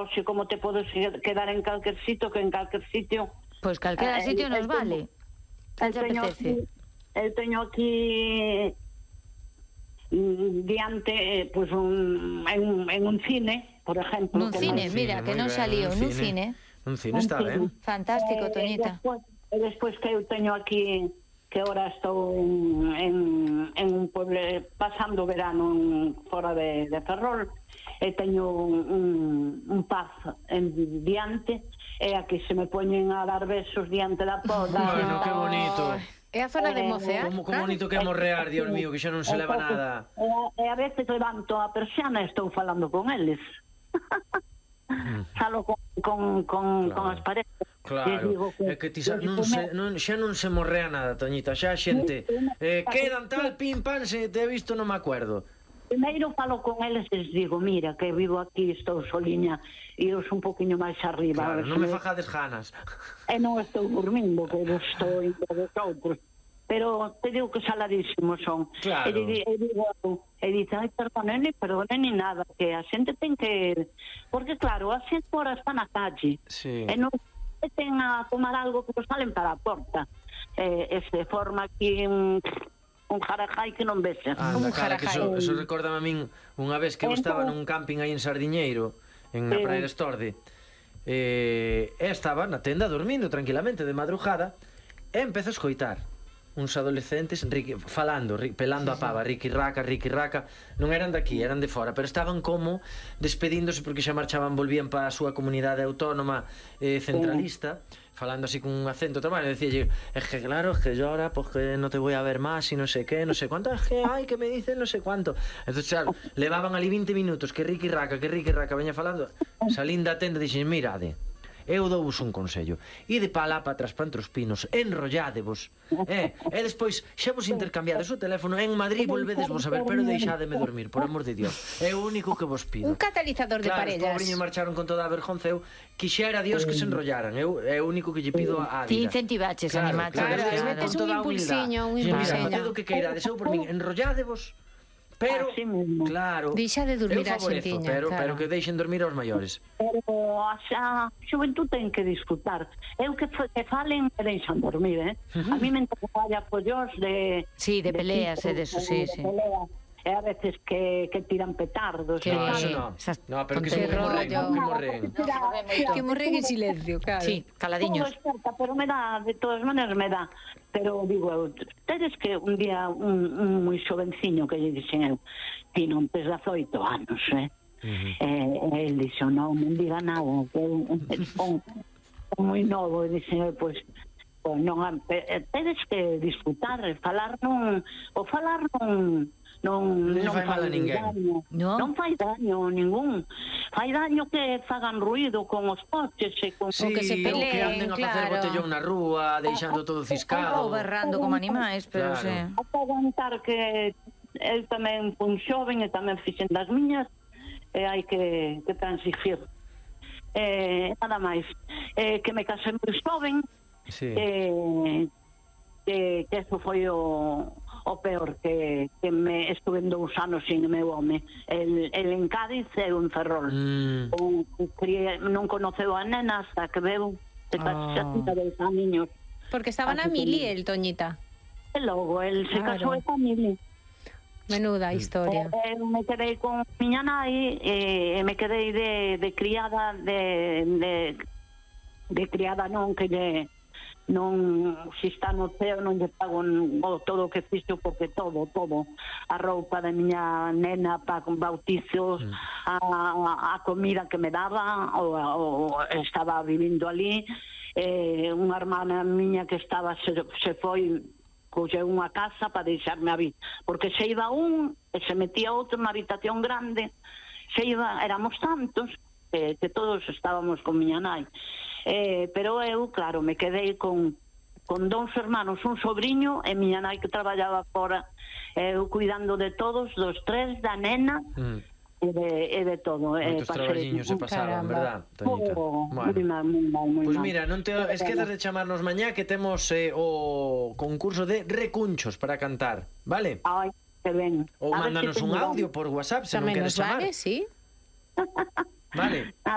hoxe como te podes quedar en calquer sitio, que en calquer sitio... Pois calquera sitio nos vale. Eu teño aquí diante pues en un cine, por exemplo. Nun cine, mira, que non saliu, nun cine. Un cine está ben. Fantástico, Toñita. E despois que eu teño aquí, que ahora estou en un pueblo pasando verano fora de Ferrol, e teño un paz en diante, e aquí se me poñen a dar besos diante da porta. Bueno, que bonito. É a zona de mocear. Como bonito que é morrear, Dios mío, que xa non se leva nada. E a veces levanto a persiana e estou falando con eles. Falo con as paredes. Claro, é que xa non se morrea nada, Toñita, xa a xente quedan tal, pim, pam, se te he visto non me acuerdo. Primeiro falo con eles e les digo, mira, que vivo aquí, estou soliña, e eu un poquinho máis arriba. Claro, non me fajades ganas. E non estou dormindo, que eu estou entre os outros. Pero te digo que saladísimos son. Claro. E dice, ai, perdone, ni nada, que a xente ten que... Porque claro, a xente ahora está na calle. Sí. E non ten a tomar algo que nos salen para a porta. E se forma aquí un jarajai que non vese. Anda, cara, que eso recórdame a min unha vez que eu estaba nun camping aí en Sardiñeiro, en a Praia de Estorde, e estaba na tenda dormindo tranquilamente de madrugada, e empezo a escoitar uns adolescentes falando, pelando a pava, riqui raca, non eran daqui, eran de fora, pero estaban como despedíndose porque xa marchaban, volvían para a súa comunidade autónoma centralista, falando así con un acento tomado, e decía, es que claro, es que yo ahora pues que no te voy a ver más y no sé qué, no sé cuánto, es que ay, que me dicen no sé cuánto. Entonces, claro, levaban ali 20 minutos que riqui raca, veña falando, salín da tenda e dixen, mirade, eu douvos un consello, ide pa lá para atrás para entre os pinos, enrolládevos, e despois xa vos intercambiades o teléfono, en Madrid volvedesvos a ver, pero deixádeme dormir, por amor de Dios, é o único que vos pido. Un catalizador de parellas. Claro, os pobriños marcharon con toda a vergonza, eu quixera Dios que se enrollaran, é o único que lle pido a vida. Ti incentivaches, animaches. Claro, metes un impulsiño, Mira, facedo que queirades, eu por min, enrolládevos, pero, claro, deixa de dormir a xentiña, pero que deixen dormir aos maiores. Pero a xuventud ten que disfrutar. Eu que falen e deixan dormir, A mí me entra pollos de... Sí, de peleas e de eso, sí. E a veces que tiran petardos. No, eso no, pero que se morren. Que morren en silencio, claro. Sí, caladiños. Pero me da, de todas maneras me da. Pero digo, tedes que un día un moi xovenciño que lle dixen eu, ti non tes 18 anos, el dixo, non diga nada, que un moi novo, e dixen eu, pois non, tedes que disfrutar, falar non fai mal a ninguén. Non fai daño ningún. Fai daño que fagan ruido con os coches e con que se peleen, que anden a facer botellón na rúa, deixando todo ciscado, ou berrando como animais, pero claro. A aguantar que eu tamén fun xoven e tamén fixen das miñas, e hai que transigir. Nada máis. Que me casei moi xoven, que eso foi o peor, que me estuve 2 anos sin o meu home. El en Cádiz e en Ferrol. Non conoceu a nena hasta que veu xa tinha 2 aniños. Porque estaba na mili el, Toñita. E logo, el se casou e mili. Menuda historia. Eu me quedei con miña nai e me quedei de criada de criada non, que lle non, se está no ceo non lle pago todo o que fixo, porque todo a roupa da miña nena para bautizos, a comida que me daba, ou estaba vivindo ali, unha hermana miña que estaba se foi, colleu unha casa para deixarme a vida, porque se iba un e se metía outro na habitación grande, éramos tantos que todos estábamos con miña nai. Pero eu, claro, me quedei con 2 hermanos, un sobrinho e miña nai que traballaba fora, eu cuidando de todos, dos 3, da nena e de todo. Moitos traballiños se pasaban, verdad, Toñita? Pois mira, non te esquezas de chamarnos mañá, que temos o concurso de recunchos para cantar, vale? Ai, que ben. Ou mándanos un audio por WhatsApp se non queres chamar. Tamén nos vale, sí. Vale.